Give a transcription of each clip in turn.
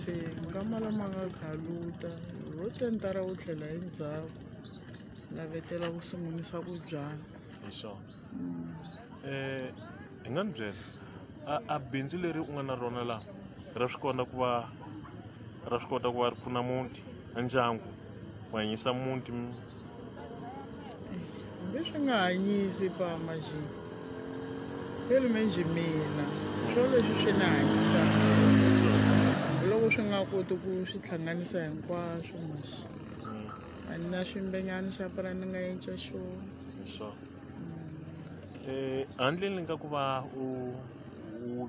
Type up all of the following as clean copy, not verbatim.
Se nkama lama nga khaluta ho tentara wu tlhela endzhaku lavetela ku sungulisa ku byala. Hi swona. Hi nga ni byela a bindzu leri u nga na rona laha ra swi kota ku va ra swi kota ku va ri pfuna muti a ndyangu ku hanyisa muti? Hambi swi nga hanyisi pa majini feli menjhe mina swo leswi swi ni hanyisaka hambiloko swi nga koti ku swi hlanganisa hinkwaswo masi a ni na ximbenyana xa pura ni nga yenca xona. Hi swona. Handleni ka ku va u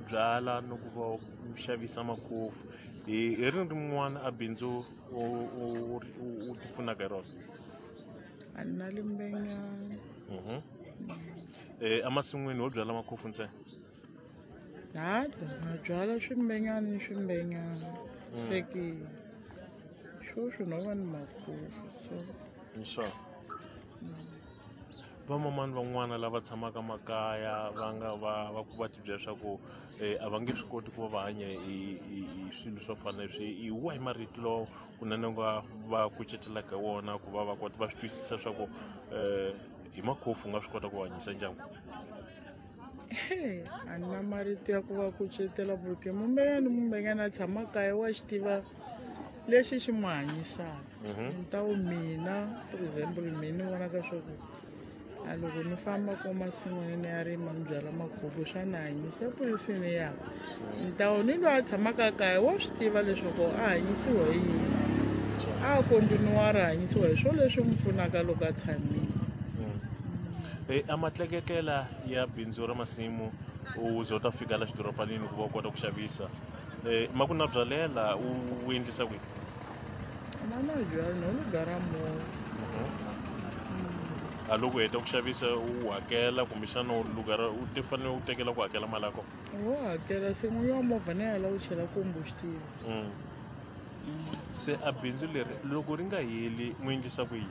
byala no ku va u xavisa makhofu hi rini rin'wana a bindzu u ti pfunaka hi rona? A ni na limbenyana. Emasin'wini ho byala makhofu ntsena? Hada na byala swimbenyana ni swimbenyana. Se ke sweswi no va ni makhofu so. Hi swona. Vamamani van'wana lava tshamaka makaya va nga va ku va tibyela leswaku a va nge swi koti ku va va hanya hi swilo swo fana leswi, hi wahi marito lawa kunene u nga va kucetelaka hi wona ku va va kota va swi twisisa swa ku hi makhofu u nga swi kota ku hanyisa ndyangu? A ni na marito ya ku va kucetela porque mumbenyana ni mumbenyana a tshama kaya wa xi tiva lexi xi n'wi hanyisaka. Ni ta wu mina for example mina ni vonaka swa ku a loko ni famba ko masin'wini ni ya rima ni byala makhubu swa ni hanyisa epolisini ya ni ta wu ni loyi a tshamaka kaya wa swi tiva leswaku a hanyisiwa hi yini, a kontinuwara hanyisiwa hi swo leswi n'wi pfunaka loko a tshamile. A matleketlela ya bindzu ra masimu u ze u ta fika la xidorobanini ku va u kota ku xavisa ma ku na byalela u endlisa kwihi? Ma na byala no lu gara movha. A loko u heta ku xavisa u hakela kumbexana u lugara u ti fanele u tekela ku hakela mali ya kona? Wo hakela se n'winyi wa movha ni yala u chela combustible. Se a bindzu leri loko ri nga heli mu endlisa ku yini?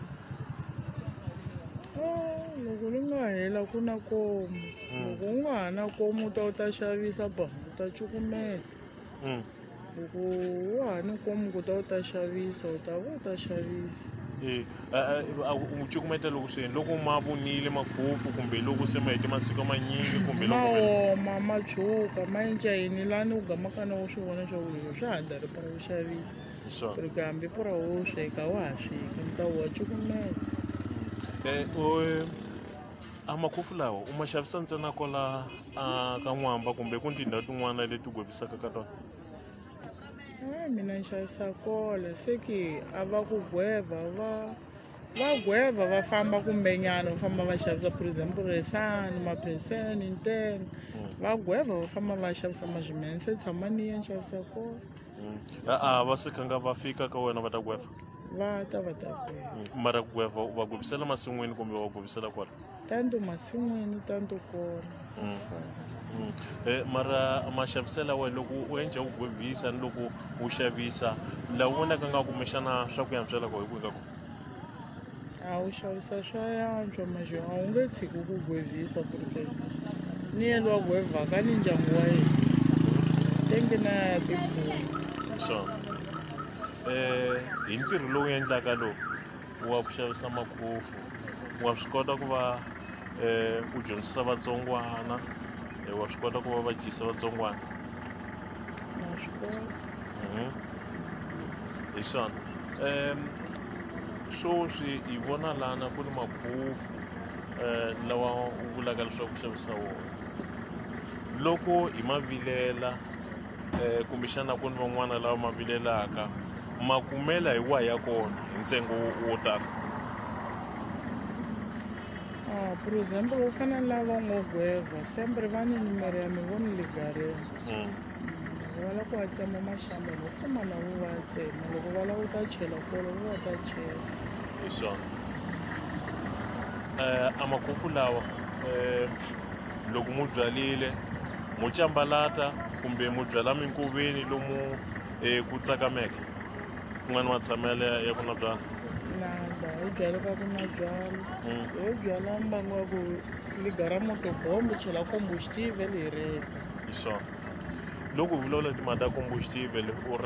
Loko ri nga hela ku na komu. Loko u nga ha na komu u ta u ta xavisa ba u ta cukumeta. Loko wa ha ni komu ku ta u ta xavisa u ta va u ta xavisa. U cukumeta loko swi loko ma vunile makhofu kumbe loko se ma hete masiku manyingi kumbe loko ma oma ma tshuka ma enca yini lani u gamaka na u swi vona swa ku leswi swa ha dari pura ku xavisa. Hi swona. Ku hambi pura wo sweka wa ha sweki ni ta wa cukumeta. A makhofu lawa u ma xavisa ntsena kwala ka N'wamba kumbe ku tindhawu tin'wana leti gwevisaka ka tona? Mina ni xavisa kona se ke a va ku gweva va gweva va famba kumbenyana va famba va xavisa for example Resani Mapheseni Ntenga va gweva va famba va xavisa mazimene se tshama ni ya ni xavisa kona. A va se khanga va fika ka wena va ta gweva? Va ta va ta gweva. Mara ku gweva va gwevisela masin'wini kumbe va gwevisela kwala? Tanto masin'wini tanto kona. Mara maxaviselo ya wena loko u endla u gwevisa ni loko u xavisa laha u vonaka nga kumbexana swa ku antswela ko hi kwihi ka kona? A wu xavisa swa yantswa maxo a wu nge tshiki ku gwevisa porque ni yena wa gwevaka ni ndyangu wa yena tenge na ya tipfuna. Hi swona. Hi ntirho lowu endlaka lowu wa ku xavisa makhofu wa swi kota ku va u dyondzisa vatsongwana, wa swi kota ku va va dyisa vatsongwana? Na swi kota. Hi swona. Sweswi hi vona lana ku ni makhofu lawa u vulaka leswaku ku xavisa wona. Loko hi ma vilela kumbexana ku ni van'wana lava ma vilelaka ma kumela hi wahi ya kona hi ntsengo wo tala? For example u fana na lava ngo gweva sempre va ni nimero ya mi voni ligareni. Loko va lava ku va tsema maxamba no famba na vo va tsema loko va lava ku ta chela kolo vo va ta chela. Hi swona. A makhofu lawa loko mu byarile mu cambalata kumbe mu byala minkoveni lomu ku tsakameke ku nga ni matshamelo ya ku na byala? Nada, hi byala ka ku na byala. Ho byala mbangu wa ku ligara moto bombo chela combustible hi reka. Hi swona. Loko hi vulavula timhaka ta combustible u